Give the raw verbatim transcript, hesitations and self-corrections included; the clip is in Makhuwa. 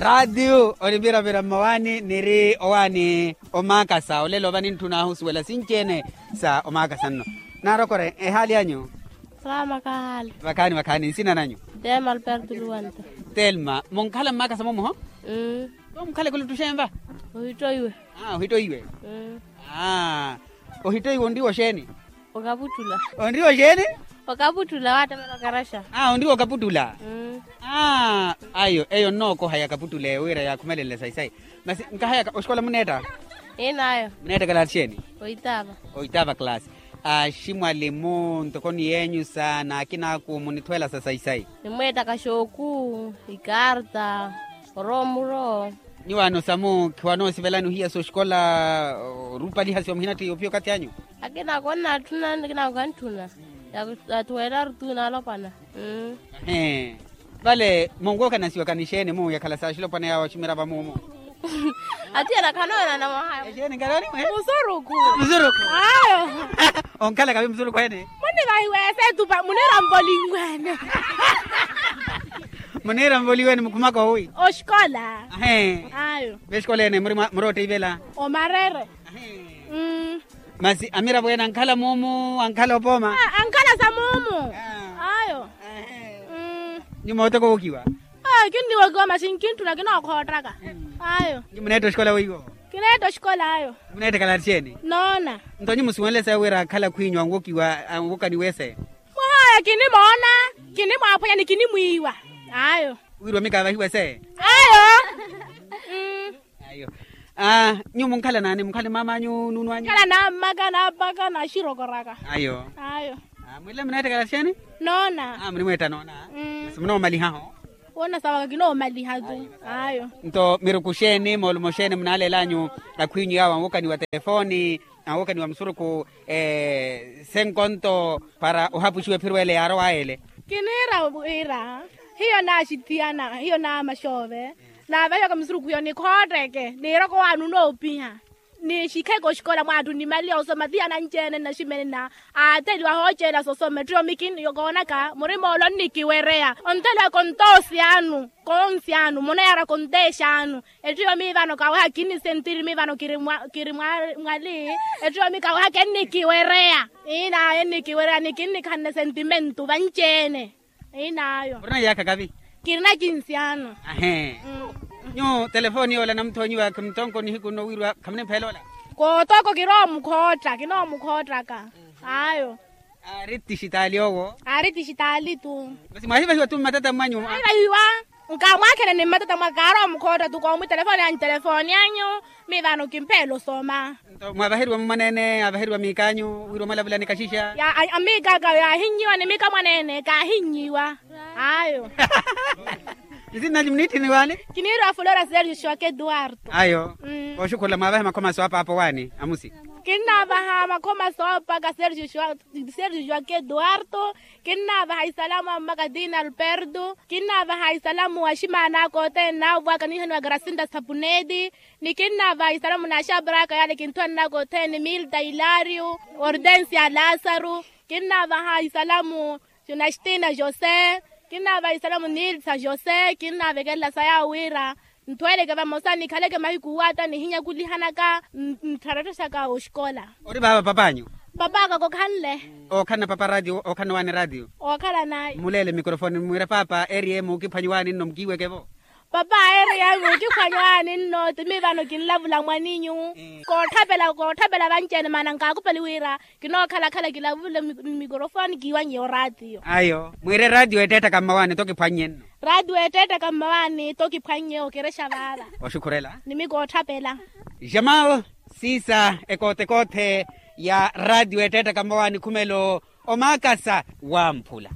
Raatiyo onipiravira mmawaani niri owaani omaakasa olelo va nintthun'ahu osuwela sinci-ene sa omaakasa nno. Naarokore ehaali anyu? Salamu akahaali. Vakhaani vakhaani nsina nanyu? Telma alberto luwanta. Telma munkhala mmaakasa momuho? Mmm. Mukhaleke oluttuxenva? Ohittoiwe. Aa ohittoiwe. Aa ohittoiwe onriwa oxeeni? Okaputtula. Onriwa oxeeni? Okaputtula waattamela okaraxa. Aa onriwa okaputtula. Aa ayo eyo nnookoha ya kaputtula eyo wira yaakhumelenle sayi sayi. Masi nkahayaka oxikola muneetta? Inayo. Muneetta kalaasi xeeni? Oitaava. Oitaava kalaasi. Aximwalimu ntoko ni yeenyu sa n'akinaaku munitthweela sa sayi sayi. Nimweettaka xooku, ikarta, oroomulo. Nyuwaano samu khiwanoosivelani ohiya s'oxikola orupalihasiwa muhinatthi yoopiya okathi anyu? Akinaako onnatthuna akinaako kantthuna. Yathuwelaru tu naalopwana. Vale munwookanasiwaka ni xeeni mu yakhala s'axilopwana yaawo aximirava muumu? Atiyana khanoonana mwahayo. Exeeni nkanooni mwe? Musuruku. Musuruku. Ayo. Onkhalaka vi musuruku ene? Munivahiwa esetupa muniramvoliwene. Muniramvoliwene mukhumaka owi? Oxikola. Ayo. Vexikola ene muri otteyivela? Omarere. Masi amiravo ene ankhala muumu ankhala opooma? Ankhala sa muumu. Ayo. Nyuma ottoko wookiwa? Kinniwokiwa masi nkintthuna kinookhottaka. Ayo. Nyuma muneetta oxikola weiwo? Kineetta oxikola ayo. Muneetta kalaati xeeni? Noona. Nto nyuma musiwenle sayi wira akhala khwiinyu anwokiwa anwokaniwa eseeni? Mwahaaya kinimoona, kinimwaaphwanya ni kinimwiiwa. Ayo. Wiriwa mikaavahiwa esee? Ayo. Ayo. Nyuwo munkhala naani munkhala ni maam'anyu nuunw'anyu? Khala nammaka nammaka naxirokoraka. Ayo. Ayo. Mwile muneettekela xeeni? Noona. Munimweetta noona. Simunoomalihaho? Woona sawaka kinoomaliha tu. Ayo. Nto miruku xeeni moolumo xeeni munaalel'anyu akhwiinyu yaawo anwokaniwa telefooni anwokaniwa musuruku senkonto para ohapuxiwa ephiro ele yaarowaya ele? Kiniira wira hiyo naaxithiyana hiyo naamaxoove. Naavahiwaka musuruku hiyo nikhootteke niiroko waani onoopiha. Nixikheke oxikola mwaattu nimaliha osoma tiya nanci-ene nnaximene na aatheliwa hooceela sosoma ettiyo mi kinkoonaka murima ole onnikiwereya. Ontheliwa kontoosi anu koonsi anu munayaara konteexa anu. Ettiyo mi vano kaweha kinnisentiri mi vano kiri mwali. Ettiyo mi kaweha kennikiwereya. Iinaayo ennikiwereya ni kinnikhanne sentimentu vanci-ene. Inaayo. Murina iyaakha kavi? Kirina kinsi ano. Ahee. Nyuwo telefooni yoola namuthoonyiwa khimuttonko nihiku nno wirwa khamunimphela ola? Kootoko kiroomukhootta kinoomukhoottaka. Ayo. Aari tixitaali owo? Aari tixitaali tu. Masi mwaahivahiwa tu mmatata mwanyu? Mwaahivahiwa. Nkamwaakhelani mmatata mwa kaaromukhootta tu koomu telefooni anyu telefooni anyu. Miivaano kimpheela osoma. Nto mwaavaheriwa mumwaneene aavaheriwa miik'anyu wira omalavulani kaxixa? Amiik'aka yaahinnyiwa ni miika mwaneene kaahinnyiwa. Ayo. Nsinanyu muniitthini waani? Kiniiriwa flora sergio xwake eduardo. Ayo. Kooxukhurela mwaavahe makhoma soopa apo waani amusi? Kinnaavaha makhoma soopaka sergio xwake eduardo. Kinnaavaha isalamu a mmaka tina alberto. Kinnaavaha isalamu a ximaan'aka othene naavwaka nihaniwa grasinta sapuneti. Ni kinnaavaha isalamu na axapar'aka yaale kinthuwan'aka othene milta ilario hortensia lasaru. Kinnaavaha isalamu na xtina jose. Kinnaavaha isalamu nilsa jose kinnaavekelela sa yaawo wira nthweleke vamosa nikhaleke mahiku waata nihinyakulihanaka nttharatthexaka oxikola. Ori vaava pap'anyu? Pap'aka kokhanle. Ookhalana papa ratio ookhalana waani ratio? Ookhalana. Muleele mikorofoni mwire papa eriye muukiphwanyi waani nno mukiiweke-vo? Papa eriye muukiphwanyi waani nno ti miivano kinlavula mwaninyu. Kootthapela kootthapela vanci-ene maana nkaakupeli wira kinookhala-khala kilavule mmikorofoni kiiwannye oraatiyo. Ayo mwire eraatiyo ettettaka mmawaani tokiphwannye nno. Raatiyo ettettaka mmawaani tokiphwannye okerexa vaava. Oxukhurela. Nimikootthapela. Jamal siisa ekootekoothe ya raatiyo ettettaka mmawaani khumelo omaakasa wamphula.